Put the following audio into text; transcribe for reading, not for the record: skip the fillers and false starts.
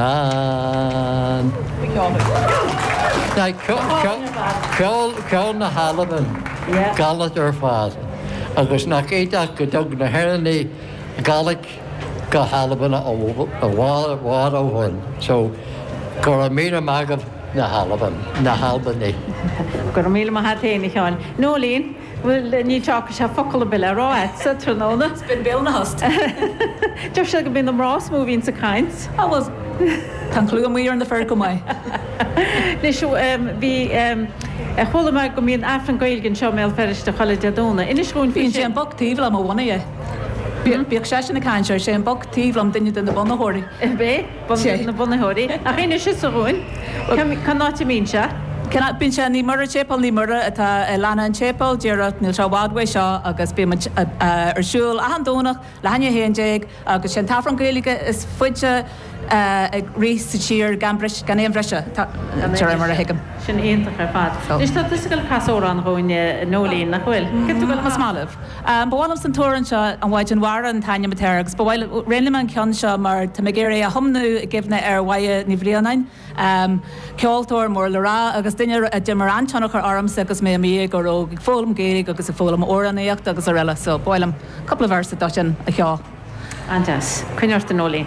An. Ceol, ceol na hAlban, Gàidhlig ar fad. Agus nach iontach go dtug na hÉireannaigh Gàidhlig go hAlbain i bhfad ó shoin. So, go raibh míle maith agaibh na hAlban, na hAlbanaigh. Go raibh míle maith a't fhéin, a Sheáin. Noeleen, Bhuel, níl sé focal ar bith le rá a'dsa tráthnóna. Is binn béal ina thost. Deir siad go mbíonn na mná is mó a bhíonns ag caint. Á bhuel, tá an clú amuigh ar na fir chomh maith. Anois, bhí, chuala mé go mbíonn Aifreann Gaeilge anseo i mBéal Feirste chuile Dé Domhnaigh. Inis dhúinn faoi Bíonn sé sin. an boc taobh liom a bhunaigh é. Bíodh seisean ag caint air, sé an boc taobh liom duine de na bunaitheoirí. Ab é? Sé. Na bunaitheoirí. Ach inis thusa dhúinn, cén áit a mbíonn sé? Cén áit? Bíonn sé i Naomh Muire, Séipéal Naomh Muire atá i Lána an tSéipéil, díreach, níl sé i bhfad uaidh seo agus bíonn muid ar siúl achan Domhnach leath i ndiaidh 11 agus sé an t-Aifreann Gaeilge is faide ag rith sa tír gan bris, gan aon bhriseadh, de réir mar a thuigim. Sin iontach ar fad. Anois tá tusa ag dul ag casadh amhrán dhúinn, a Noeleen, nach bhfuil? Céard tá tú ag dul a Más maith libh. Ba mhaith liomsa an t-amhrán seo, An Mhaighdean Mhara an t-ainm atá air, agus ba mhaith liom, roghnaigh mé an ceann seo mar tá mé ag iarraidh é a thiomnú i gcuimhne ar Mháire Ní Bhraonáin, ceoltóir mór le rá agus duine a d'imir an-tionchar ormsa agus mé i mo dhéagóir óg ag foghlaim Gaeilge agus ag foghlaim amhránaíochta agus araile so ba mhaith liom cúpla véarsa dó sin a cheol. An-deas. Coinnigh ort a Noeleen.